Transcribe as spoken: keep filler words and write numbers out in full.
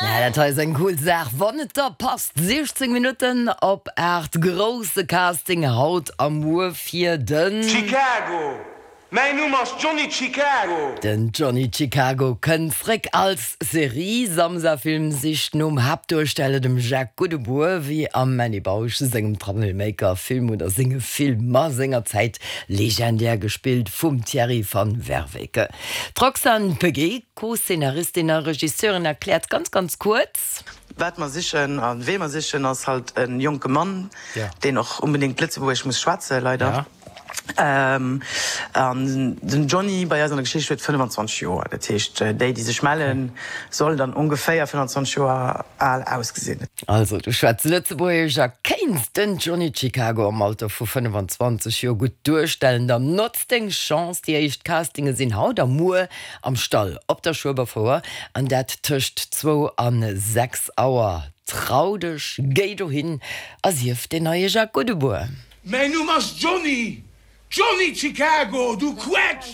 Ja, dat hei ass eng cool Saach, wann et der passt. siechzéng Minutten op aacht, grousse Casting haut a muer fir den. Chicago! Mäin Numm ass Johnny Chicago! Den Johnny Chicago kënnt zréck als Serie. Samsa Film sicht nom Haaptduersteller, dem Jacques Goudebour, wéi am Manny Bausch sengem Troublemaker Film oder senge Filmer sengerzäit legendär gespillt vum Thierry van Werveke. D'Roxane Peguet, Co-Szenaristin a Regisseurin, erkläert ganz ganz kuerz. Wat mer sichen a wee mer sichen ass halt e jonke Mann, deen och onbedéngt Lëtzebuergesch muss schwätzen, leider. An den Johnny bei eis an der Geschicht huet fënnefenzwanzeg Joer. Dat heescht, déi, déi sech mellen, soll dann ongeféier fënnefenzwanzeg Joer al ausgesinn. Also, du schwätz Lëtzebuergesch a kéints den Johnny Chicago am Alter vu fënnefenzwanzeg Joer gutt duerstellen, dann notz deng Chance! Déi éischt Castinge sinn haut a muer am Stall op der Schueberfouer, an dat tëscht zwou a sechs Auer. Trau dech, géi dohin a sief deen neie Jacques Goudebour! Mäin Numm ass Johnny! Johnny Chicago, du Quetsch!